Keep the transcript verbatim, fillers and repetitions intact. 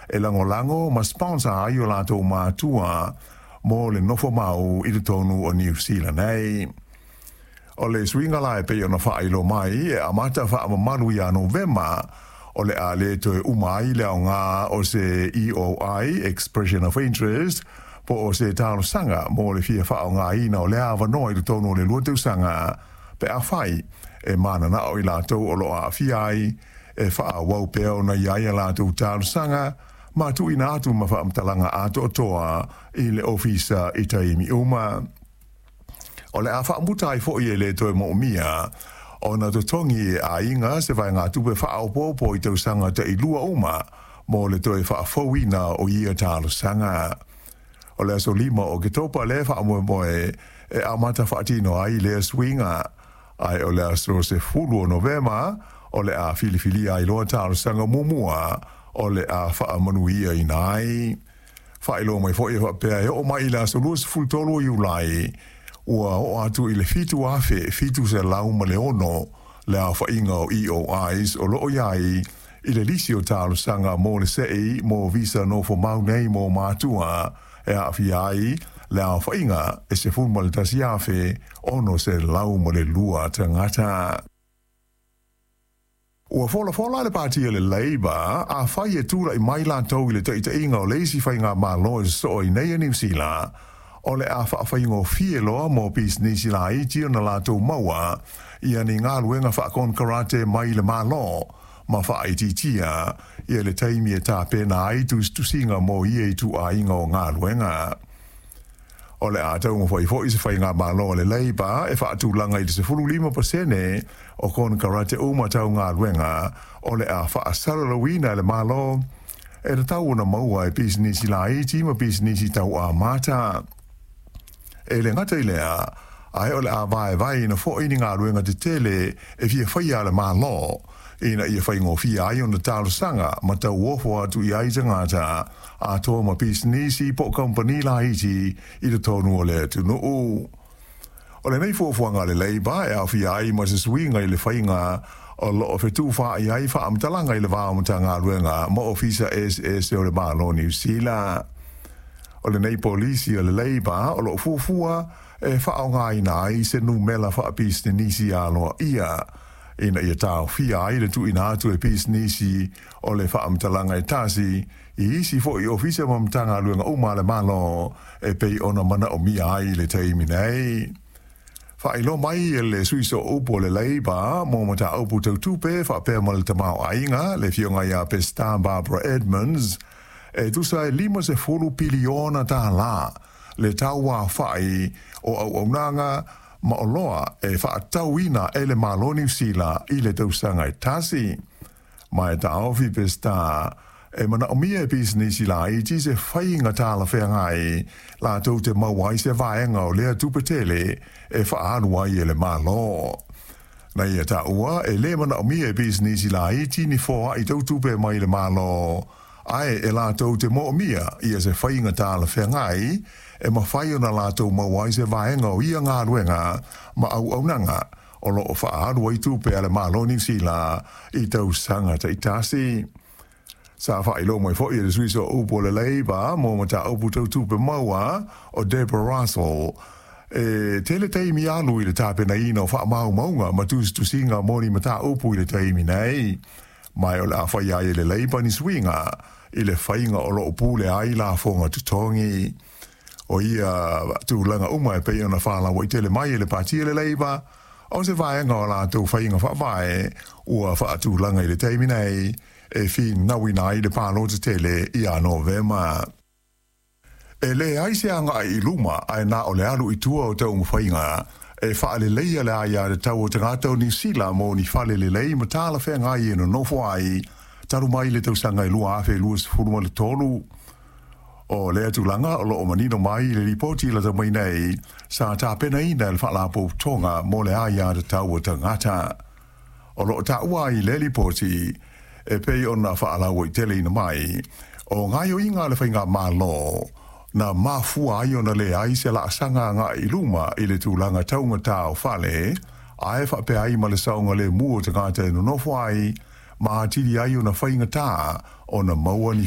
E lagolago ma sponsor ai o latou matua mo le nofo mau i totonu o Niu Sila nei. O le suiga la e pei ona faailoa mai e amata faamamalu ia Novema, o le a le toe uma ai le aoga o se E O I, Expression of Interest, po o se talosaga mo le fia faaaogaina o le avanoa i totonu o le lua tausaga pe afai e mananao i latou o lo o aafia ai e faaauau pea ona i ai a latou talosaga ma tuuina atu ma faamatalaga atoatoa i le ofisa i taimi uma. O le a faamuta ai foi e le toe moomia ona totogi e aiga se vaegatupe faaopoopo i tausaga tailua uma mo le toe faafouina o ia talosaga. O le aso lima o Oketopa le faamoemoe e amata faatino ai lea suiga, ae o le aso sefulu o Novema o le a filifilia ai loa talosaga muamua o le a faamanuiaina ai. Faailoa mai foi e faapea e oo mai i le aso luasefulu tolu o Iulai ua oo atu i le fitu afe fitu selau ma le ono le aofaiga o E O Is o loo i ai i le lisi o talosaga mo le sei mo visa nofo mau nei mo matua e aafia ai le aofaiga e sefulu ma le tasi afe ono selau ma le lua tagata. Ua folafola le pati le Labour afai e tulai mai latou i le taitaiga o le isi faigamalo e sosoo ai nei a Niu Sila, o le a faafaigofie loa mo pisinisi laiti ona latou maua ia ni galuega faakonekarate mai le Malo ma faaitiitia ia le taimi e tapena ai tusitusiga mo ia ituaiga o galuega. O le a taumafai foi se faigamalo le Labour e faatulaga i le sefulu lima pasene o konekarate uma tau galuega o le a faasalalauina e le Malo e tatau ona maua e pisinisi laiti ma pisinisi tau amata. E le gata i lea, ae o le a vaevaeina foi ni galuega tetele e fia faia le Malo ina ia faigofie ai ona talosaga ma tauofo atu i ai tagata atoa ma pisinisi po o kamupani laiti i totonu o le atunuu. O lenei fuafuaga le Labour e aofia ai ma se suiga i le faiga o loo fetufaai ai faamatalaga i le va o Matagaluega ma Ofisa eseese o le Malo Niu Sila. O lenei polisi o le Labour o loo fuafua e faaaogaina ai se numera faapisinisi aloaia ina ia taofia ai le tuuina atu e pisinisi o le faamatalaga e tasi i isi foi ofisa ma Matagaluega uma a le Malo e pei ona manaomia ai le taimi nei. Faailoa mai e le sui sooupu o le Labour mo mataupu tau tupe faapea ma le tamaoaiga, le afioga ia Pestan Barbara Edmonds, e tusa e lima sefulu piliona tālā le tauaofai o auaunaga ma oloa e faatauina e le Malo Niu Sila i le tausaga e tasi. Ma e taofi Pestan e manaomia e pisinisi laiti se faiga talafeagai latou te maua ai se vaega o lea tupe tele e faaalu ai e le Malo. Na ia taua e le manaomia e pisinisi laiti ni foai tau tupe mai le Malo, ae e latou te moomia ia se faiga talafeagai e mafai ona latou maua ai se vaega o ia galuega ma auaunaga o loo faaalu ai tupe a le Malo Niu Sila i tausaga taitasi. Sa faailoa mai foi e le sui sooupu o le Labour mo mataupu tau tupe maua o Deborah Russell e tele taimi alu i le tapenaina o faamaumauga ma tusitusiga mo ni mataupu i le taimi nei. Ma o le a fai ai e le Labour ni suiga i le faiga o loo pule ai lafoga totogi. O ia tulaga uma e pei ona faalauaitele mai e le pati le Labour o se vaega o latou faiga faavae ua faatulaga i le taimi nei e finauina ai le palota tele ia Novema. E leai se agai i luma ae na o le alu i tua o taumafaiga e faaleleia le aiatatau o tagata o Niu Sila mo ni fale lelei ma talafeagai e nonofo ai talu mai le tausaga e lua afe luasefulu ma le tolu. O lea tulaga o loo manino mai i le lipoti lata mai nei sa tapenaina e le Faalapotopotoga mo le Aiatatau o Tagata. O loo taua ai le lipoti e pei ona faalauaiteleina mai o gaoioiga a le faigamalo na mafua ai ona leai se laasaga agai i luma i le tulaga taugatā o fale ae faapea ai ma le saogalemu o tagata e nonofo ai ma atili ai ona faigatā ona maua ni